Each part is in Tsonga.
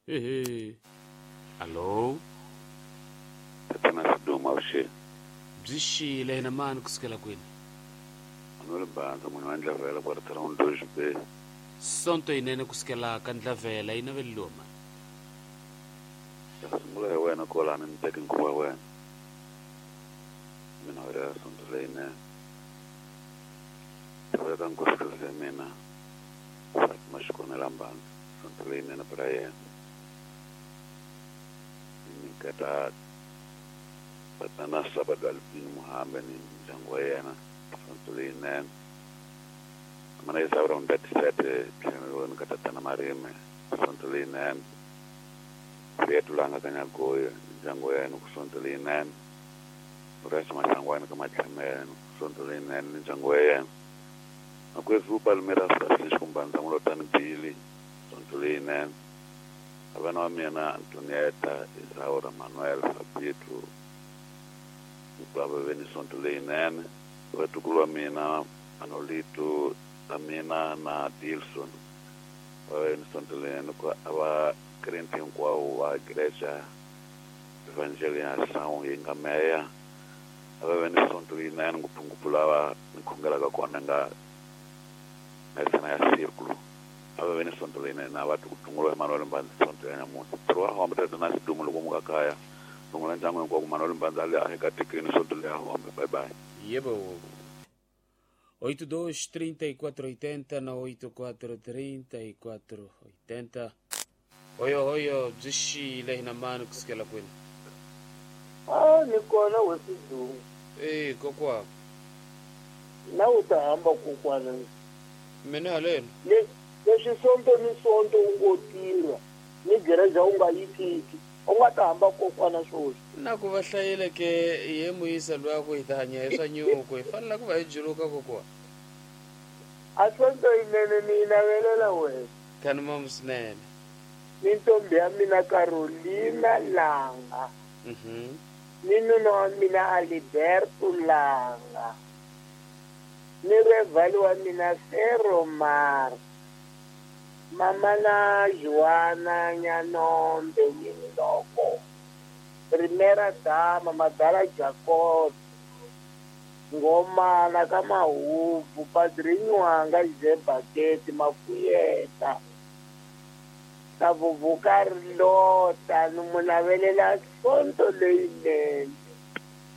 Ehe. Allo. Tatana Siduma avuxeni. Byi xile hina mani kusukela kwini? Manuel Banza munhu wa Ndlavela kwa Town Dodge Bay. Sonto yinene kusukela ka Ndlavela yi naveleliwa mani? Ta sungula hi wena kwalano ni teke nkhuvo wa wena. Mina wa ya sonto leyinene. Tiveka nkosikazi ya mina Fatima Xikonela Mbanza sonto leyinene para yena. Ni nyiketa tatana Sabado Albino Muhambe ni ndyangu wa yena sonto leyinene. Mana Isaura Mdatisete tlhelo ka tatana Marime sonto leyinene. Fietu langa ka Nyagoyo ndyangu wa yena ku sonto leyinene. Resa Masangwana ka Matlhamelo sonto leyinene ni ndyangu wa yena. Makwerhu Palmeiras Francisco Mbanza Mulotani Billy sonto leyinene. Vana wa mina Antonieta Isaura Manuel Fabito hinkwavo va ve ni sonto leyinene. Vatukulu wa mina Manolito Amina na Dilson va ve ni sonto leyinene ku a va krente hinkwawo va Igreja Evangelização yi nga meya a va ve ni sonto leyinene ngopfungopfu lava ni khongelaka kona nga mesana ya círculo a va ve ni sonto leyinene na va tungula Emmanuel Mbanza sonto ya namuntlha. Ntirho wa hombe tatana Sidumo loko mu nga kaya rungula ndyangu hinkwako Manuel Mbanza le a ekatekeni sonto leya hombe. Bye bye. Yebo. 82 34 80 na 84 34 80. Hoyo hoyo byi xile hina mani kusukela kwini? A ni kona wesidumo. Eh kokwa. Na u ta hamba kokwana. Mina haleno. Leswi sonto ni sonto u ngo tirha ni gereja u nga yi tiki u nga ta hamba kokwana swoswi. Na ku va hlayile ke ye muyisa luya ku hi ta hanya hi swa nyuku hi fanele ku va hi juluka kokwa. A sonto yinene ni yi navelela wena. Khani mamu swinene. Ni ntombi ya mina Carolina Langa. Ni nuna wa mina Aliberto Langa. Ni revali wa mina Feromar. Mama na Joana Nyanombe Yinloko. Primera dama Madala Jacob. Ngomana ka Mahubu Padrinho wanga Zebaketi Mafuyeta. Tavuvuka rilota ni mu navelela sonto leyinene.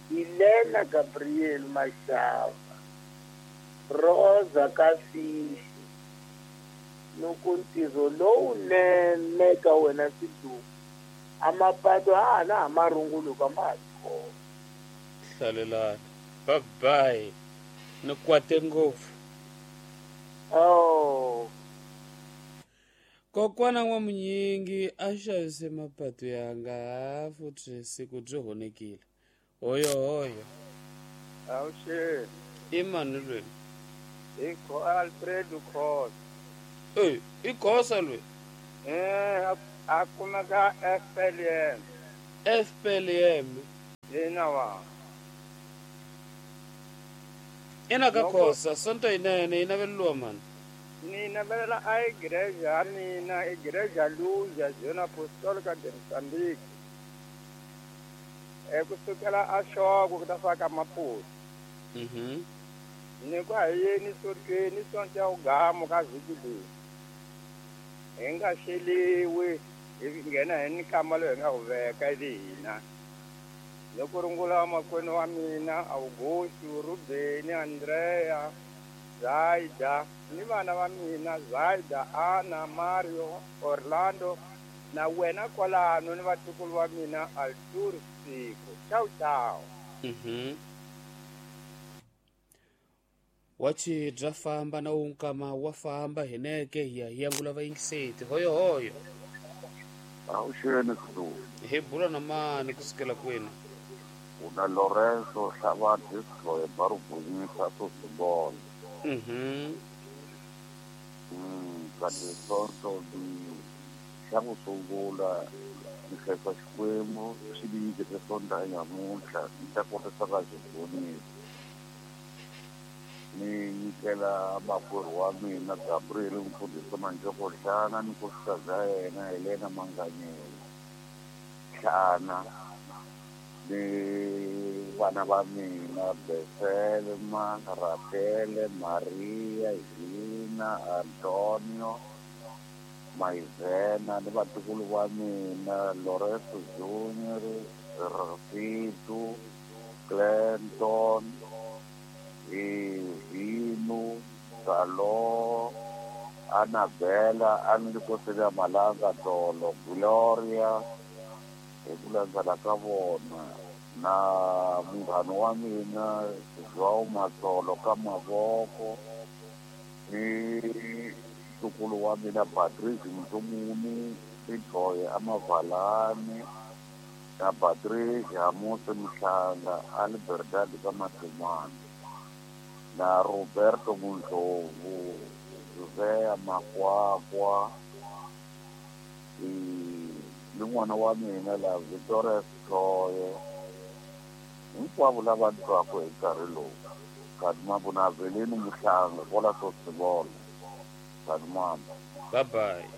Helena Gabriel Mashava. Rosa Kafishi. Nuku ntirho lowunene ka wena Sidumo. A mapato a ha na ha marunguluka ma ha ri kona. Hlalelani. Bye bye. Ni kwate ngopfu. Oh. Kokwana n'wamunyingi a xavise mapato yanga futhi siku byi honekile. Hoyo hoyo. Awuxeni. I mani lweni? I Alfredo Khosa. Eh, i Khosa lweni? Eh, a kumeka FLM. FLM. Ina wa. Ina ka Khosa, sonto yinene yi naveleliwa mani? Ni navelela a igreja ya mina, Igreja Luja, Zona Apostólica de Moçambique. E kusukela a Xoko ku ta fika Maputo. Ni ku a hi yeni sontweni, sonto ya Ugamo ka vhiki leyi. Hi nga xeliwi, hi nghena hi ni nkama lowu hi nga wu veka ivi hina. Loko rungula makwenu wa mina, Augusto, Rubeni, Andrea, Zaida, ni vana va mina, Zaida, Ana, Mario, Orlando, na wena kwalano ni vatukulu va mina, Arthur Siko. Ciao, ciao. Wachi bya famba na wunkama wa famba hineke hi ya hi yangula vayingiseti. Hoyo hoyo. Awuxeni Sidumo. Hi bula na mani kusukela kwini? Una Lorenzo Hlava Disco ya Barubunisa Sosibona. Kati sonto ni xa ku sungula ni khensa Xikwembu xi ni nyikete sonto ya nyamuntlha ni ta kotisa ka xibonisa. Ni nyikela makwerhu wa mina Gabriel mfundhisi Manjoko Hlana ni nkosikazi ya yena Helena Manganyela Hlana ni vana va mina Beselma, Rafaele, Maria, Hina, Antonio, Maizena ni vatukulu va mina Lorenzo Junior, Rafito, Clinton, Vino, Salo, Annabella, Anlikosela Malanga Tolo, Gloria, hi ku landzela ka vona na munghana wa mina João Matsolo ka mavoko ni ntukulu wa mina Patrice Mtumuni Sithoye Amavalani na Patrice Hamusi Mhlanga Albertad ka Matumani na Roberto Mundlovu José Makwakwa ni n'wana wa mina la Victoria Sithoye hinkwavo lava twaka hi nkarhi lowu Kadimambu na Avelino Muhlanga kwala Sosibolo. Kadimambu. Bye bye.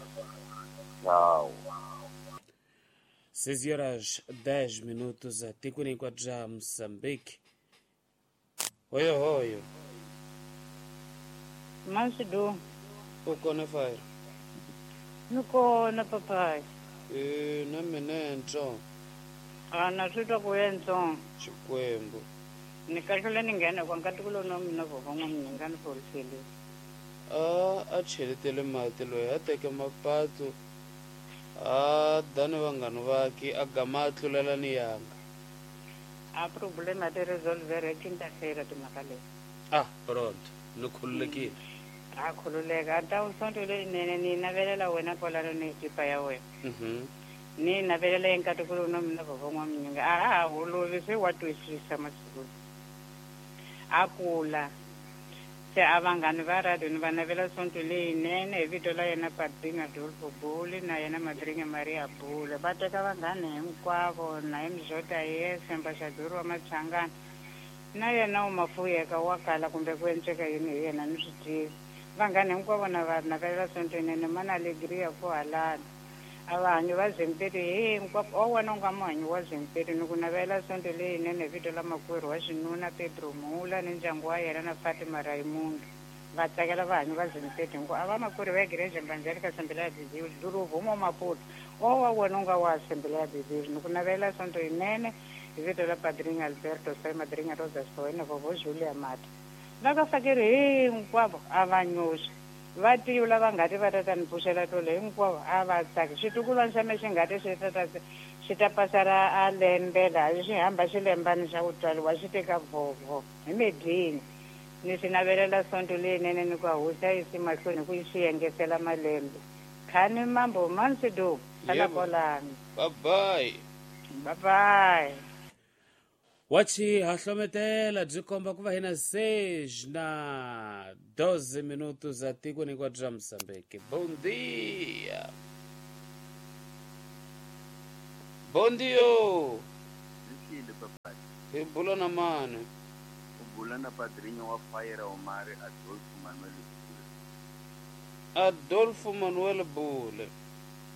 Tchau. 6 horas 10 minutos atikweni hinkwabyo bya Moçambique. Hoyo hoyo. Mansidu. U kona fire. Ni kona papai. Na mina ntsongo. A na swi twa ku ye ntsongo. Xikwembu. Ni kahlula ni nghena kwa nkatiko lowu na mina vova n'wa mina ni forisele. A cheletele mati loyi a teke mapatu a dani vanghana vake a gama a tlulela ni yanga. A problema ti resolvere quinta-feira timhaka leyi. Ah, pronto. Ni khululekile. A khululeka a ta u sonto leyinene ni navelela wena kwalano ni ekipa ya wena. Ni navelela enkatiko lowu na mina vova n'wa minyinga. A ha holovi se wa twisisa masiku. A kula. Se a vanghani va radio ni va navela sonto leyinene hi vito la yena Padrinho Adolfo Bule na yena Madrinha Maria Bule. Va teka vanghani hinkwavo na hi Mzota Yesu embaxadori wa Machangana na yena u mafuyeka wa kala kumbe ku endleka yini hi yena ni swi tivi. Vanghani hinkwavo na va navelela sonto yinene mana alegria ku halala. A vahanyi va Zempedi hinkwavo o wena u nga muhanyi wa Zempedi ni ku navela sonto leyinene hi vito la makwerhu wa xinuna Pedro Mula ni ndyangu wa yena na Fatima Raimundo. Va tsakela vahanyi va Zempedi hinkwavo a va makwerhu va Igreja Evangélica Assembleia de Deus do Ruvumo Maputo o wa wena u nga wa Assembleia de Deus ni ku navela sonto yinene hi vito la Padrinho Alberto Sai Madrinha Rosa Soena Vovó Julia Mata. Va ka fakeri hinkwavo a va nyoxi. Va tivi lava nga ti va ta ta ni pfuxela tolo hinkwavo a va tsaki. Xitukulwana xa me xi nga ti xi ta pasa ra a lembe laha xi hamba xi lembani xa ku tswariwa xi teka vhovho hi medini. Ni xi navelela sonto leyinene ni ku hosi a yisi mahlweni ku yi xi engetela malembe. Khani mambo mansidu sala kwalano. Bye bye. Bye bye. Wachi hahlometela byi komba ku va hina 6 na 12 minutos atikweni hinkwabyo bya Moçambique. Bom dia. Bom dia. Zikile papai. Hi bula na mani? U bula na padrinho wa Fire Omar Adolfo Manuel Bule. Adolfo Manuel Bule.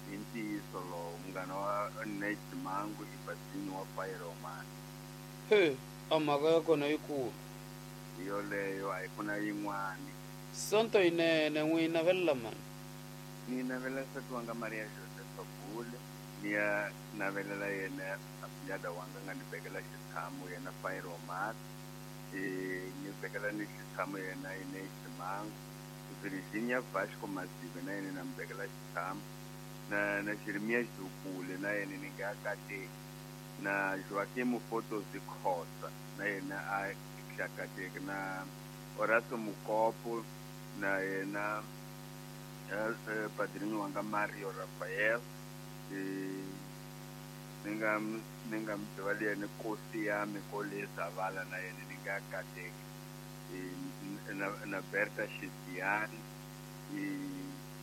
Hi ntiyiso lowu munghana wa Nate Mangu i padrinho wa Fire Omar. He, a mhaka ya kona yikulu. Hi yoleyo a yi ku na yin'wani. Sonto yinene n'wi navelela mani? Ni navelela nsati wanga Maria Josefa Bule. Ni ya navelela yena afilada wanga nga ni vekela xitshamo yena Fire Omar. Ni vekela ni xitshamo yena Nate Mangu. Virginia Vasco Masive na yena na mi vekela xitshamo. Na Jeremias Dukule na yena ni nga kateki. Na Joaquim Fotos de Costa na yena a hlakateki na Horacio Mukopo na yena padrinho wanga Mario Rafael ni nga mi tiva yena Nkosi ya Mikole Zavala na yena ni nga kateki na Berta Shiziani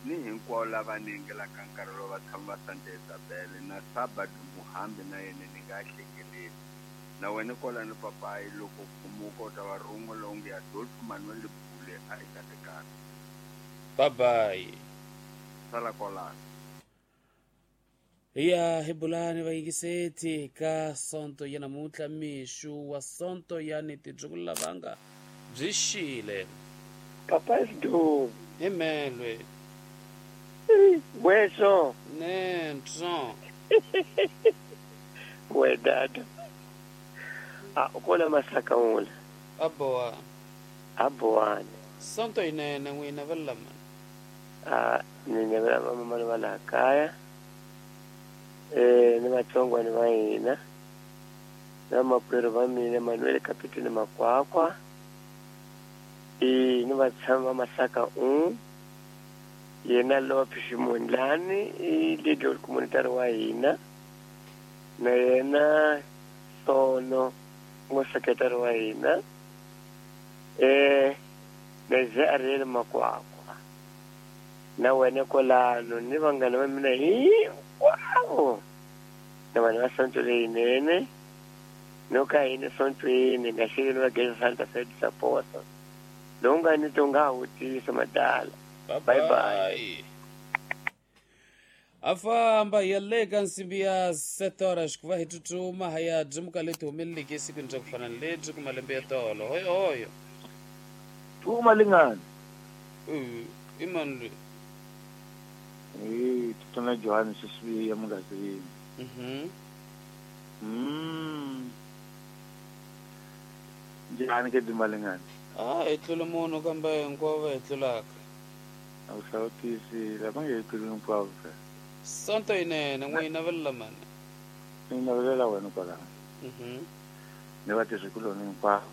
ni hinkwavo lava ningelaka nkarhi lowu va tshama va Santa Isabel na Sabad Muhambi na yena ni nga hlekeleli. Na wena kwalano papayi loko khumuka u ta va rungo lowu nge Adolfo Manuel Bule a yi katekani. Bye bye. Sala kwalano. Hi ya hi bulani vayingiseti ka sonto ya namuntlha mixu wa sonto ya ni tidyukulu lavanga byi xile. Papa Sidumo. Hi melwe. Weso. Nentso. We dada. A ukola masaka ula. Aboa. Aboane. Sonto inene n'wina va lama. A ni nyavela mama va laha kaya. Ni vatsongwana va hina. Na makwerhu va mina Manuel Kapiteni Makwakwa. Ni vatshami va Masaka un. Yena Lope Ximundlani i leader communitary wa hina. Na yena Sono ngo secretary wa hina. Na Ze Ariel Makwakwa. Na wena kwalano ni vanghana va mina hinkwavo. Na vanhu va sonto leyinene. No ka hina sontweni nga xivini va Geza Santa Fe support. Lowu nga ni to nga wutisa madala. Bye bye. A famba hi ya le ka nsimbi ya 7 horas ku va hi tsutsuma hi ya byimuka leti humeleleke esikwini bya ku fana ni lebyi ku malembe ya tolo. Hoyo hoyo. Phuma lingani. I mani loyi? Tatana Johannes Sibiya Mungazini. Njhani ke Dimalingani? A hi tlula munhu kambe hinkwavo va hi tlulaka. A wu hlawutisi lava nge hi tluli hinkwavo phela. Sonto yinene n'wina va lamani. Ni navelela wena kwalano. Ni vatirhikuloni hinkwavo.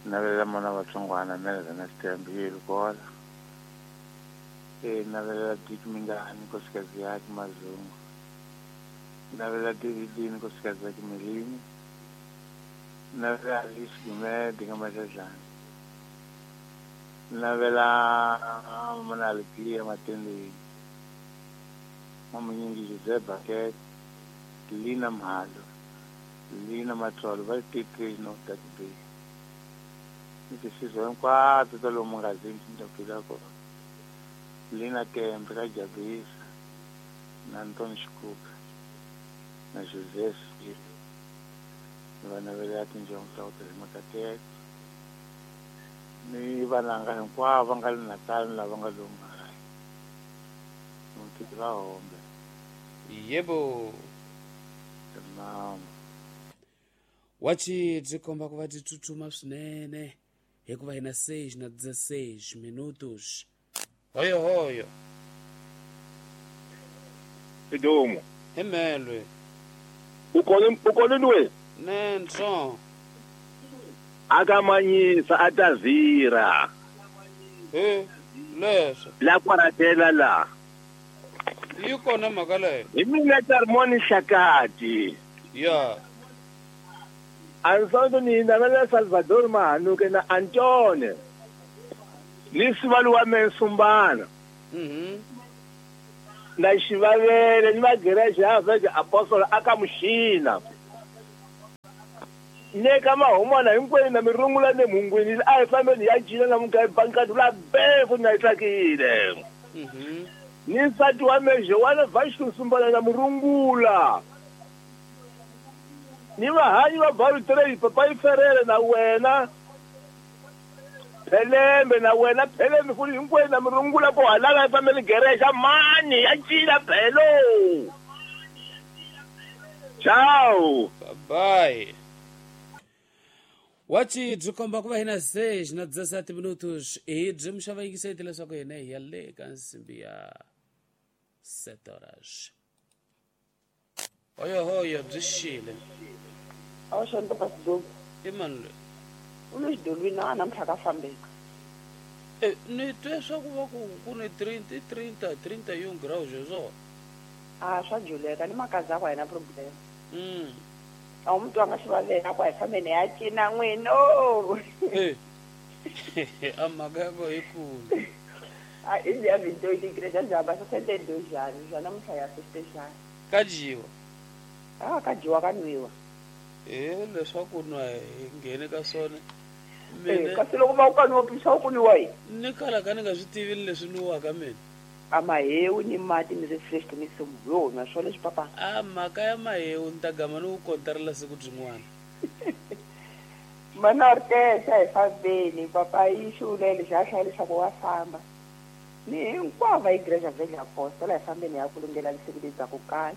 Ni navelela mana vatsongwana Meleza na Sitembe yi kola. Navelela Dick Mingani nkosikazi yakhe Mazungu. Navelela David nkosikazi yakhe Melini. Navela Alice Gumede ngamadladlana. Navela mana Alegria Matendeni. Mamunyingi Jose Baket, Lina Mhalo, Lina Matsolo, va ti no that be. Ni tisizwe hinkwato ta lomu ngazini ti phila kona. Lina Kempe ka Jabisa, na Anton Xikuka, na Jose Smith. Ni va navelela tinjongo ta ku tirha makateka. Ni vananga hinkwavo va nga le Natal ni lava nga lomu makaya. Mutiki va hombe. Yebo. Naam. Wachi byi komba ku va byi tsutsuma swinene hikuva hina 6 na 16 minutos. Hoyo hoyo. Sidumo. Hi melwe. Ukona lwe? Nentso. Akamanyisa atazira. Leswo. La kwaratela la. Yi kona mhaka leyo. Hi mina Tarmoni Shakati. Ya. Ansonto ni navela Salvador Mahanuke na Antone. Ni sivali wa Mensumbana. Na xivavele ni vagerexe ya Vega Apostle aka Muxina. Ne ka mahumana hinkwenu na mirungula ne mungwini a hi fambeni ya cina na muka bankati la befu na yi tsakile. Ni nsati wa meje wa Vashtu Sumbana na murungula. Ni vahanyi va Baru Trade Papa Ferere na wena. Phelembe na wena Phelembe futhi hinkwenu na murungula ko halala hi fambeni gerexa mani ya cina phelo. Ciao. Bye bye. Wachi byi komba ku va hina 6 na 17 minutos hi byi muxava yingiseti leswaku hina hi ya le ka nsimbi ya 7 horas. Hoyo hoyo byi xile. A wu xonto Pasidumo. I mani loyi? U le xidolwini a namuntlha ka fambeka. Ni twe swa ku va ku ni 30 30 31 graus swona. A swa juleka ni makazi akwa hina problem. A wu mutwa nga xivavela ku a hi fambeni ya cina n'wino. A mhaka ya koho yikulu. A i ya vinto igreja jaba 62 anos, já namuntlha ya festejana. Ka dyiwa. A ka dyiwa ka nwiwa. E leswaku nwa hi nghene ka swona. Kasi loko va u ka nwa pisa u ku nwiwa yini? Ni kala ka ni nga swi tivi leswi nwiwaka mina. A mahewu ni mati ni refresh ni sumu yo nwa swona leswi papa. A mhaka ya mahewu ni ta gama ni ku kontarela siku byin'wana. Mana Ortesa hi fambeni papa yi xulele xa hlaya leswaku wa famba. Ni hinkwavo va igreja Velha Apostola hi fambeni ya kulungela siku lebyi ku kala.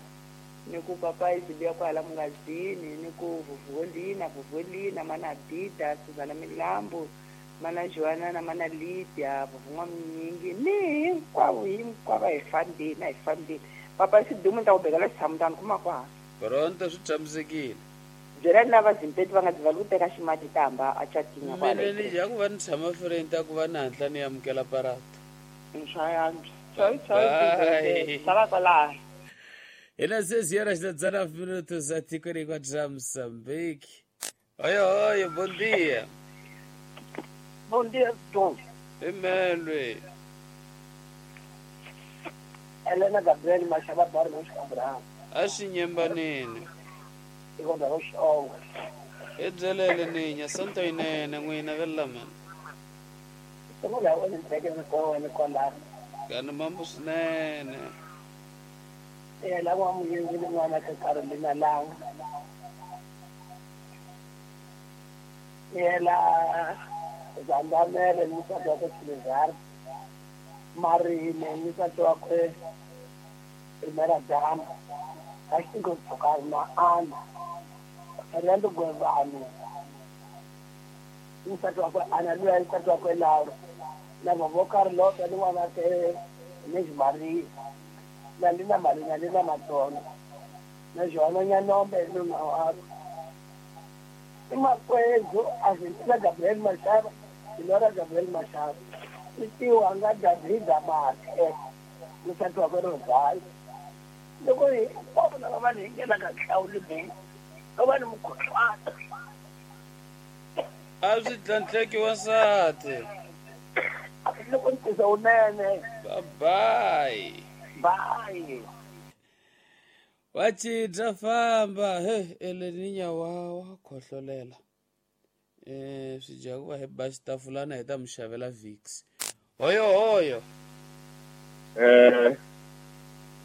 Ni ku papa izibuya kwala mungazini ni ku vuvolina vuvolina mana Bida Suzana Milambo mana Joana na mana Lydia vuvun'wa minyingi ni hinkwavo hinkwavo hi fambeni papa sidumu ta ku bekela xitshamutani kuma kwaha. Pronto swi tshamisekile. Byela lava zimpeti va nga dzivali ku teka ximati ta hamba a chatinya kwala. Mina ni dya ku va ni tshama friend ku va ni hatla ni amukela parata. Nswayantswa. Choi choi. Sala kwala. Ina 6 horas e 19 minutos a Ticorico já Moçambique. Oi, oi, bom dia. Bom dia, Dom. Emelwe. Helena Gabriel Machaba Barros Abraham. Axinyembanini. Ikonda roxonga. Edzelele ninya santo inene n'wina velamani. Sungula u ni teke ni kwala. Kana mambo swinene. La wa muyingi ni n'wana ka Carolina Langa. Ela Zandamele ni nsati wakwe Silizar. Marine ni nsati wakwe Primera Dama. Kaxingo Tsokari na Ana. Fernando Gwevani. Ni nsati wakwe Ana luya ni nsati wakwe Laura. Na vovo Carlota ni n'wana ke Miss Maria. Na lina Marina lina Matona. Na Joana Nyanombe nuna wakwe. Imakwezo Argentina Gabriel Machado, Senhora Gabriel Machado. Itiwa nga Davida Mathe, nsati wakwe Rosario. Loko hinkwavo lava va ni nghena ka hlawuli mina, va ni mukhuhlwana. A swi tlhantlheki wansati. Loko ni tisa wunene. Bye bye. Bye. Wachi famba he eleninya wa khohlolela. Swi dya ku va hi ba xitafulana hi ta mi xavela Vicks. Hoyo hoyo.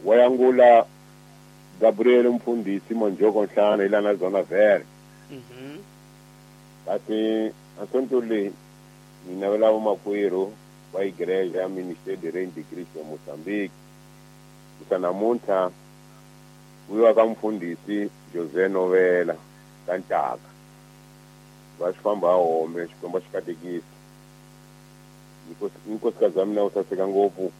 Wayangula Gabriel Mfundisi Monjoko Nhlana ilana zona vere. Kasi asontuli mina vela vamakwerhu va igreja ya Ministério de Reino de Cristo ya Mozambique. Kusa uyo ka mfundisi José Novela ka Ntaka. Va swi famba home Xikwembu xi katekisa. Nkosikazi wa mina u saseka ngopfu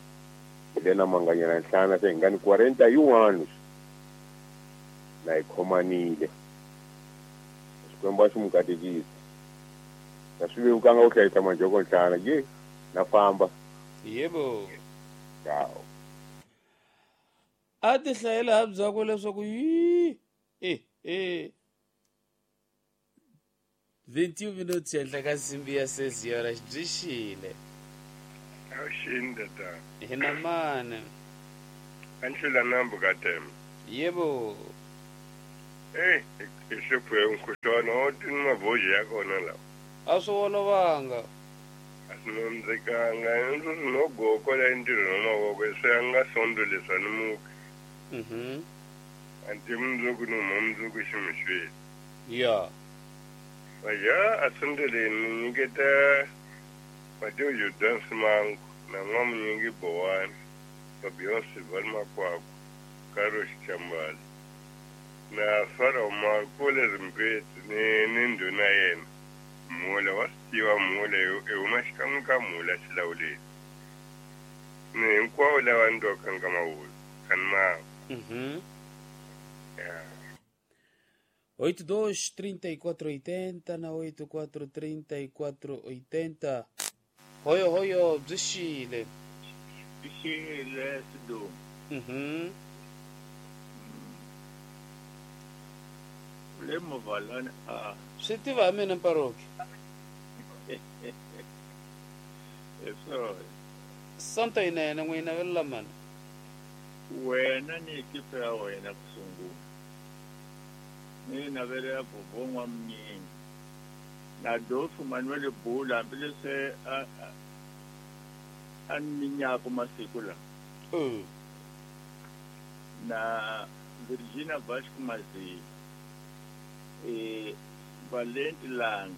Helena Manganyela Nhlana se hi nga ni 41 na hi khomanile. Xikwembu a xi mu katekisa. Na swi vevukanga ku hlayisa Manjoko Nhlana ye na famba. Yebo. Ciao. A ti hlayela ha byakwe leswaku yi 21 minutos henhla ka nsimbi ya 6 horas byi xile. Awuxini tata. Hi na mani. Anhlula nambu ka tem. Yebo. I hluphe mkhuhlwana o tini mabhoji ya kona lawa. A swi olovanga. A swi nandzikanga ndzi ri no goko la ntirho na mavoko se a nga sondo leswa ni muki. Anti mundzuku ni huma mundzuku ximixweni. Ya. Vaja a sondeleni ni nyiketa Mateo Jordan Simango na n'wamunyingi Bowani Fabian Silval Makwakwa Karo Xichambali na Farao Markule Zimpeti ni ndhuna yena Mula wa swi tiva Mula i huma xikan'we ka Mula xilawuleni ni hinkwavo lava ni twaka ka mavulu kani ma. 82 34 80 na 84 34 80. Hoyo hoyo byi xile. Byi xile Sidumo. Le muvalani a. Swi tiva ha mina Mparoki. Sorry. Santo yinene n'wina Ni navelela vovho N'wamunyingi na Adolfo Manuel Bula hambileswi a ni minyaka masiku lawa. Na Virginia Vasco Mazila, Valenti Langa.